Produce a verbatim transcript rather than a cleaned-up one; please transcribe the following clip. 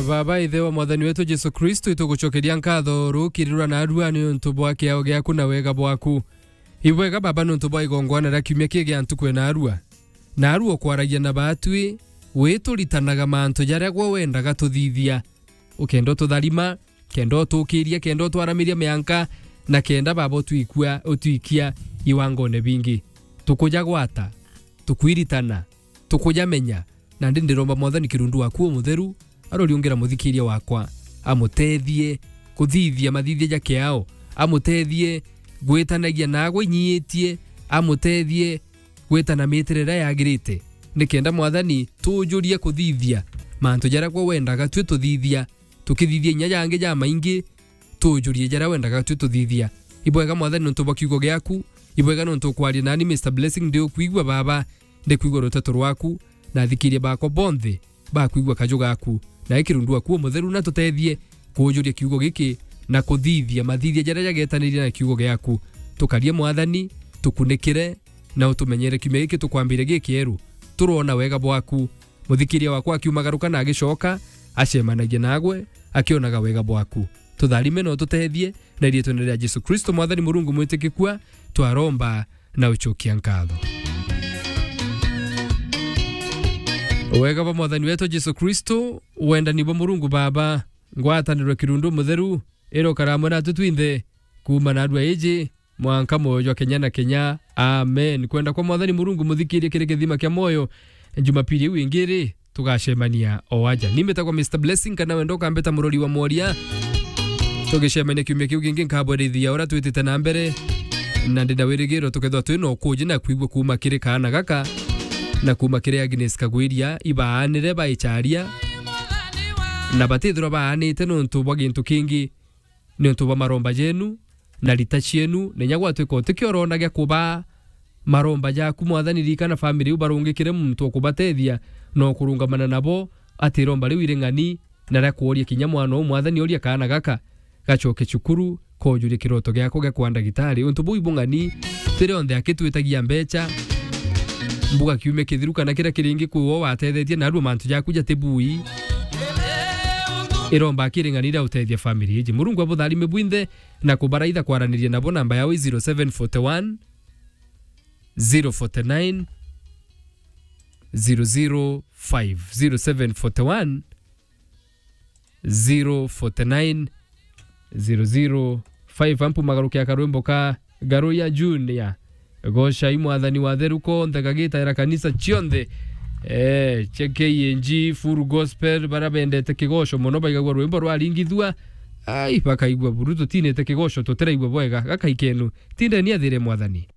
Baba, Ithe wa Mwathani wetu Jesu Kristo, itugucokeria nkatho rukiri rwa narua niuntu bwa kiao giaku na wega bwaku. Ibwega, Baba, niuntu bwa igongwana ria kiumia kii gia ntuku ya narua. Narua ukwaragia na batwi, wituritanaga mantu jaria gwe wendaga tuthithia. Ukenda ututharima, kenda utukiria, kenda utwaramiria mianka, na kenda, Baba, utwikua, utwikia iwangone bingi. Tukujagwata, tukwiritana, tukujamenya, nandi ndiromba Mwathani kirundu waku umutheru aroriungira muthikiria wakwa, amutethie kuthithia mathithia ja kiao, amutethie gwitanagia nagwe inyiitie, amutethie gwitana mitire iria yagirite, nikenda Mwathani tujurie kuthithia mantu jaria gwe wendaga twi tuthithia, tukithithia inya jangi jamaingi, tujurie jaria wendaga twi tuthithia. Ibwega Mwathani niuntu bwa kiugo giaku, ibwega niuntu ukwaria nani Mister Blessing, ndi ukwigua Baba, ndi kwigua ruteto rwaku, na athikiria bakwa bonthe bakwigua kaju gaku. Na ikirundu waku umutheru na tutethie kujuria kiugo giki na kuthithia mathithia jaria jagetanirie na kiugo giaku. Tukarie Mwathani, tukunikire na utumenyere kiumia giki tukwambire gikieru. Turona wega bwaku. Muthikiria wakwa akiumagaruka na agicoka, acemanagia nagwe, akionaga wega bwaku. Tutharime na ututethie, na iriitwene ria Jesu Kristo, Mwathani Murungu mwitikikua, twaromba na ucokia nkatho. Wega bwa Mwathani wetu Jesu Kristo, wendani bwa Murungu Baba, ngwataniro kirundu mutheru, irokara amwe natu twinthe, kuuma narua iji, mwanka mwoyo jwa kenya na kenya. Amen. Kwenda kwa Mwathani Murungu muthikirie kiri kithima kia mwoyo. Jumapili iu ingi ri, tugacemania o aja. Ni mbitagwa Mister Blessing, kana wenda ukambita murori wa mworia. Tugicemania kiumia kiu kingi, nkabwerithia uria twitite na mbere. Na ndi na wirigiro tukethirwa twi na ukuji na kwigua kuuma kiri kaana gaka, na kuuma kiri Agnes Kagwiria, ibaanire baicharia, na batithirwa baanite niuntu bwa gintu kingi. Niuntu bwa maromba jenu na rita cienu, na inya gwatwika utikio urona gia kubaa maromba jaku, Mwathani, ririkana family iu barungikire muntu wa kubatethia na ukurungamana nabo, ati iromba riu iri ng'ani, na ria kworia kinya mwana uu, Mwathani, oria kaana gaka gacoke cukuru, kojurie kiroto giako gia kwa ndagitari. Untu buu ibung'ani, tiri onthe aki twitagia mbecha, mbuga kiumia kithiru kana kiria kiringi kwi wo watethetie, narua mantu jaku jatibui. Iromba kiri ng'ani ria utethia family iji. Murungu abutharime bwinthe na kubaraitha kwaraniria nabo. Namba yao i zero seven forty one, zero forty nine, zero zero five, zero seven forty one, zero forty nine, zero zero five. Ampu magarukia karwimbo ka Garu ya Junior. Gocai Mwathani wa theru konthe, gagitaira kanisa cionthe. Eh, K N G, Full Gospel, bara bendete kigoco mono, baigagua rwimbo rwaringithua. Ai, bakaigua buru, tutinite kigoco, tutiraigua bwega. Gakai kenu, tindeni athire Mwathani.